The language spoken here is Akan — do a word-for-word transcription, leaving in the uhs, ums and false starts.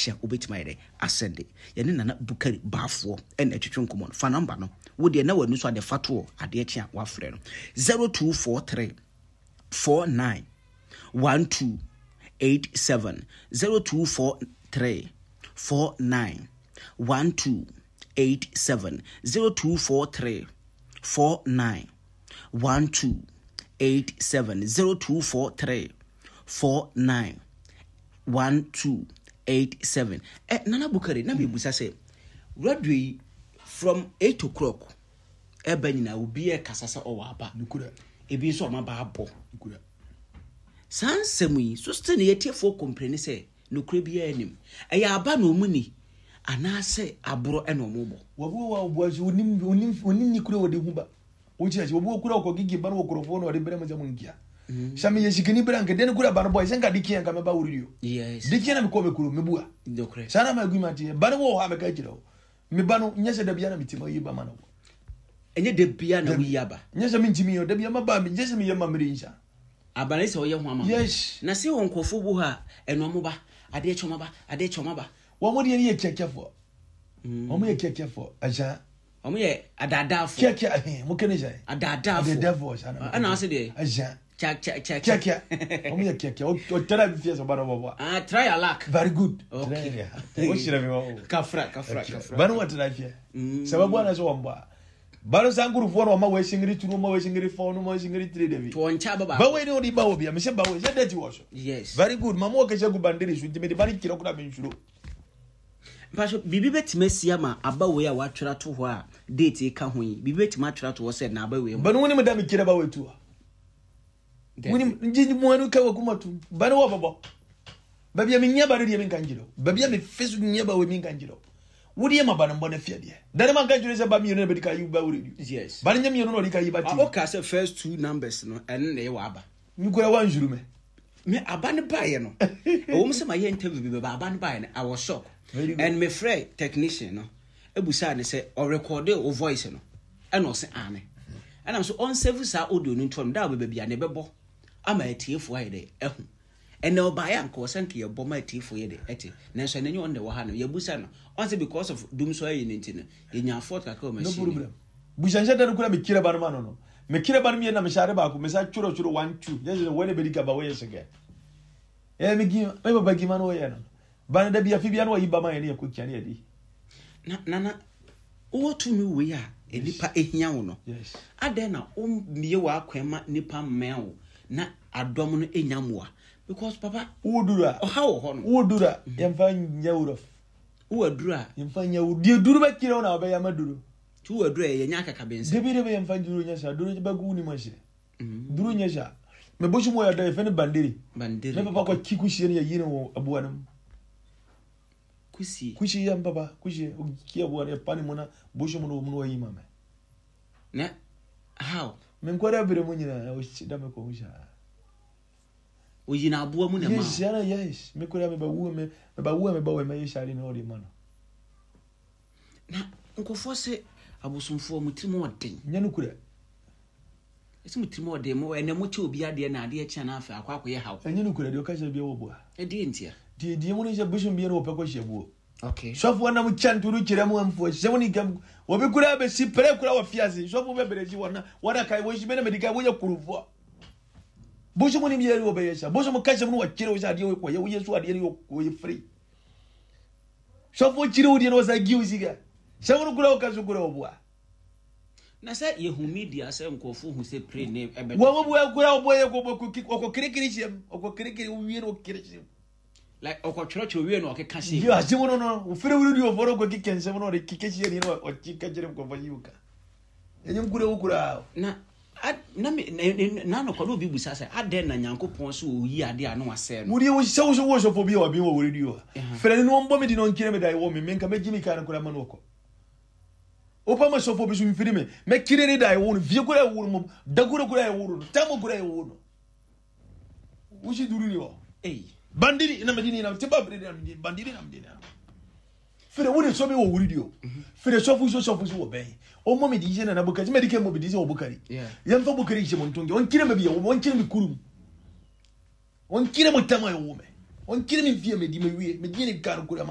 kye a wobɛtumi ayɛ dɛ asɛnde. Yɛne Nana Bukari Baafoɔ ɛna ɛtwetwe nkɔmmɔ no. Fa number no, wo deɛ na w'ani so ade fa toɔ, adeɛ kye a wafrɛ no zero two four three four nine one two eight seven, zero two four three four nine one two eight seven, zero two four three four nine one two eight seven, zero two four three four nine one two eight seven. Eh, Nana Bukari, na mebusa sɛ radio yi from eight o'clock ɛba nyinaa, obi ɛkasa sɛ ɔwɔ aba. Nokorɛ. Ebi nso ɔma ba abɔ. Nokorɛ. Saa nsɛm yi so still ne yɛtiefoɔ complain sɛ nokorɛ biara anim, ɛyɛ aba na ɔmu ni anaasɛ aborɔ ɛna ɔmo bɔ? Wabi wɔ a ɔboa so onim onim onim ni kura wɔde hu ba wokyerɛ sɛ obi wɔ kura ɔkɔ gigi ba no wɔ kurɔfoɔ na ɔde brɛ mo sɛ mo nkia sɛ meyɛ sikani berɛ anka dɛn kura ba no bɔ sɛ nka de kia nka mɛba wo radio. Yes de kia na mekɔ me kuro mebua. Nokorɛ. Saa na ma agreement yɛ ba no wɔ hɔ a mɛka kyerɛ wo me ba no nyɛ sɛ da bia na metim ayi ba ma no. Ɛnyɛ da bia na woyi aba? Nyɛ sɛ mentimi yɛ da bia maba, nyɛ sɛ meyɛ ma mere nsa. Aba ne sɛ ɔyɛ ho ama mo. Yes. Na sɛ wɔ nkurɔfoɔ bu hɔ a ɛno ɔmo ba, adeɛ kyɛ ɔmo ba, adeɛ kyɛ ɔmo ba. Wɔn mo deɛ no yɛ kiakiafoɔ, wɔn yɛ kiakiafoɔ ɛgya. Ɔmo yɛ adaadaafoɔ. Kiakia ɛhɛn mo kene sɛ adaadaafoɔ. Adaadaafoɔ saa na. Ɛna ase deɛ ɛgya. Kya kya kya. Kiakia, wɔn yɛ kiakia, ɔtɛrɛ bi fiɛ sɛ ɔba na ɔbɔ. Ah, try your luck. Very good. Okay. O hyerɛ mi wɔ o. Kafra kafra kafra. Bani wɔ tɛrɛ fiɛ sɛ bɛ bɔ ana sɛ wɔn bɔ a bani sankurufoɔ na ɔma wɔ esingiri turu, ɔma wɔ esingiri four, ɔma wɔ esingiri three de bi. To wɔn nkyɛn aba baako. Bawo ni o di bawo bi a mɛ sɛ bawo sɛ dɛti wɔ so. Yes. Very good, mamu wɔ kɛse gu bandere so ntumi de bani kyerɛ kura mi nsuro. Mpaso biribi bɛtumi asi ama aba wei a watwerɛ ato hɔ a date ka ho yi, biribi bɛtumi atwerɛ ato hɔ sɛ na aba wei mu? Bani wuni mi da mi kyerɛ bawo etu wa wuni nji mu anu ka wɔ kuma tu bani wɔ bɔbɔ baabi a mi nyɛ bani deɛ mi nka nkyerɛ o, baabi a mi fi so nyɛ bawo mi nka nkyerɛ o, wodi yɛ ma bani mbɔ ne fia deɛ dani ma nka nkyerɛ sɛ ba mienu na bɛ di ka yi ba wuri di. Yes. Bani nyɛ mienu na ɔdi ka yi ba ti. Ah, ɔka sɛ first two numbers no ɛno na ɛyɛ wɔ aba. Nkura wa nsuru mɛ. Me aba no baeɛ no, ɛwɔ mu sɛ mayɛ interview bi bɛba aba no baeɛ no, I was shocked. Very good. And mefrɛ technician no ebusaa ne sɛ ɔrekɔde o voice no, ɛna ɔse ane, ɛna nso ɔnsave saa audio no ntoɔ no da a ɔbɛba bia ne bɛbɔ ama atiefoɔ ayɛ dɛ ɛho. Ɛnɛ ɔbaeɛ a nka ɔsɛ nka yɛbɔ ma atiefoɔ yɛ dɛ ɛte, nanso ɛnɛ nyɛ ɔno na ɛwɔ ha no yɛbusa no, ɔnsɛ because of dum so ayi no nti no yɛnya fault kakra wɔ No machine. Problem, busanhyɛ da no kura mi kyerɛ ba no ma no no mi kyerɛ ba no mmienu na mi hyɛ ade baako mi sa twerɛ twerɛ one two yɛ sɛ wɔn bɛ di ka ba wɔyɛ sɛgɛ ɛyɛ mi gi mi papa gi ma no wɔyɛ no ba no da bi afi bi ano wɔyi ba ma yɛ ne yɛ ko kia ne yɛ di. Na nana wowɔ tumi wei a nipa ehia wo no, yes adɛn na wommie w'akwan ma nipa mmɛn wo na adɔm no enya mmoa? Because papa, wo duru a ɔha wɔ hɔ no. Wo duru a yɛmfa nyɛ wurɔf. Wowɔ aduru a yɛmfa nyɛ wo deɛ duru bɛ kyerɛ wo na wɔbɛyɛ ama duru. Nti wowɔ aduru a yɛnyɛ akakabensɛ. Debi debi, yɛmfa duru nyɛ saa, duru bɛgu wo nim ahyɛ duru nyɛ saa. Mɛ bosom wɔ yɛ dɛ yɛfɛ ne bandere. Bandere. Me papa kɔ kyi kusie no yɛyi no wɔ aboa no mu. Kusie? Kusie yɛ mpapa kusie ki aboa no yɛpa ne mu na bosom no wɔ mu na wɔyi ma mɛ. Na how? Me nkɔda bere mu nyinaa ɔsi da me kɔn mu saa. Oyi na aboa mu na ma Yes, yana yes, me kura me ba wu me me ba wu me ba wɔ me yɛ sari na ɔde ma no. Na nkɔfoɔ sɛ abosomfoɔ mo tirim ɔden. Nyɛ no kura. Ɛsɛ mo tirim ɔden mo ɛnɛ mo kyɛ obi adeɛ na adeɛ kyɛn na afei akɔ akɔyɛ haw. Ɛnyɛ no kura deɛ ɔka kyerɛ bia wɔ boa. Ɛdeɛ ntia? Deɛ deɛ mu no sɛ bosom bia no wɔpɛ kɔ hyɛ buo. Okay. Sɔfoɔ nam kyɛ ntoro kyerɛ mu amfoɔ hyɛ mu ne kam wɔbi kura bɛsi pɛrɛ kura wɔ fiase sɔfoɔ bɛbrɛ si wɔn na wɔn aka wɔsi bɛ na mɛdi ka wɔyɛ kurufoɔ bosom ni bia wɔbɛyɛ sa bosom ka hyɛ mu no wɔkyerɛ wo sɛ adeɛ wɔ kɔyɛ woyɛ so adeɛ no wɔyɛ firi sɔfoɔ kyerɛ wo deɛ no wɔsa gi wo sika hyɛ mu no kura wɔka so kura wɔ boa. Na sɛ yɛhu media sɛ nkurɔfoɔ hu sɛ pray ne ɛbɛtɔ. Wɔn mo bua kura wɔbɔ yɛ kɔ ɔkɔ kirikiri hyɛ mu ɔkɔ kirikiri wie no ɔkiri hyɛ mu. Like ɔkɔtwerɛtwerɛ wie na ɔkeka hyɛ. Yi asɛm no no ofiri wuri di oforo kɔ kike nsɛm no ɔde kike hyɛ ni no ɔkyi ka kyerɛ nkɔfɔ yi ka ɛnyɛ nkura wo kura. Na ad- na me na na nɔkɔ na obi busa sɛ adɛn na Nyankopɔn sɛ ɔyi adeɛ a na wasɛe no? Wodi wo sɛ wo so wo sɔfo bi a wabi wɔ wuri di o fɛrɛ ni wɔn bɔ mi di na ɔnkyerɛ mi da ɛwɔ mi mi nka mɛ gyi mi ka no kura ma no ɔkɔ opa ma sɔfo bi so nfiri mi mɛ kyerɛ ne da ɛwɔ no fie kura ɛwɔ no mu da kura kura ɛwɔ no tamu kura ɛwɔ no wusi duru ni wɔ. Ei. Bandiri na medini na tiba bere na medini bandiri na medini fere wo de so bi wɔ wuri di o fere sɔfo so sɔfo so wɔ bɛn o mɔ mi di sɛ nana Bukari mɛ di kɛ mɔ bi di sɛ wɔ Bukari. Yeah. Yɛn fɛ Bukari sɛ mo ntonge ɔnkyerɛ mɛ bi yɛ wɔ ɔnkyerɛ mi kurum ɔnkyerɛ mo tam a yɛ wɔ mɛ ɔnkyerɛ mi fie mɛ di mɛ wie mɛ di ne kar kura ma.